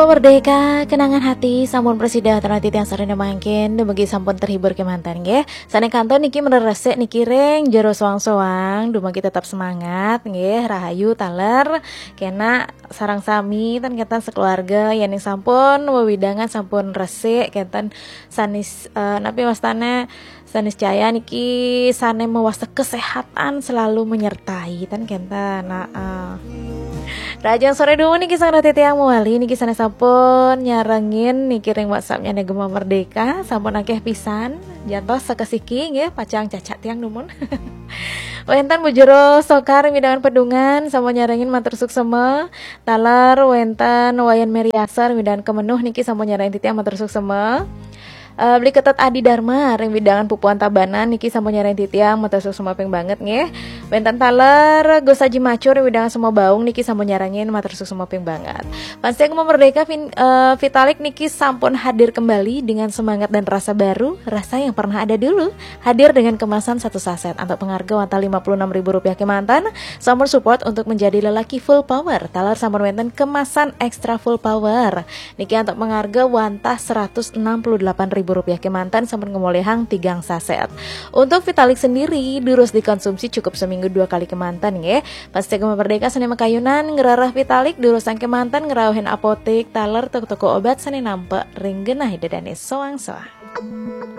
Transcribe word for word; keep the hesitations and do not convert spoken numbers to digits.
Merdeka, kenangan hati sampun prasida titiang sareng mangkin, dumugi sampun terhibur kemanten nggih. Sané kantos niki mreresik niki ring jero soang-soang, dumugi tetap semangat nggih, rahayu taler. Kena sareng sami ten kenten sekeluarga, yen sampun wewidangan sampun resik kenten sanis, eh, napi wastane, saniscaya niki sané mawasta kesehatan selalu menyertai ten kenten. Nah, eh. Rahajeng sore dumun niki sareng titiang mawali niki sané sampun nyarengin niki ring WhatsApp-nya Gema Merdeka, sampun akeh pisan. Jantos sakesiki nggih pacang cacak tiang dumun. Wenten Bu Jero Sokar ring wewidangan Pedungan sampun nyarengin matur suksema. Taler wenten Wayan Meriasa ring wewidangan Kemenuh niki sampun nyarengin titiang matur suksema. Eh, Beli Ketet Adi Dharma ring wewidangan Pupuan Tabanan niki sampun nyarengin titiang matur suksema ping banget nggih. Wenten taler Gus Aji Macur ring wewidangan Sumbawa Baung niki sampun nyarengin matur suksema ping banget. Fans Gema Merdeka fin-, eh, Vitalik niki sampun hadir kembali dengan semangat dan rasa baru, rasa yang pernah ada dulu. Hadir dengan kemasan satu saset antuk pangarga wantah lima puluh enam ribu rupiah kemanten, sampun support untuk menjadi lelaki full power. Taler sampun wenten kemasan extra full power. Niki antuk pangarga wantah seratus enam puluh delapan ribu rupiah kemanten sampun ngamolihang tigang saset. Untuk Vitalik sendiri, durus dikonsumsi cukup seminggu dua kali kemanten nggih. Fans Gema Merdeka sané makayunan ngrereh Vitalik durusang kemanten ngrauhin apotik, taler, toko-toko obat sané nampek ring genah ida dané soang-soang.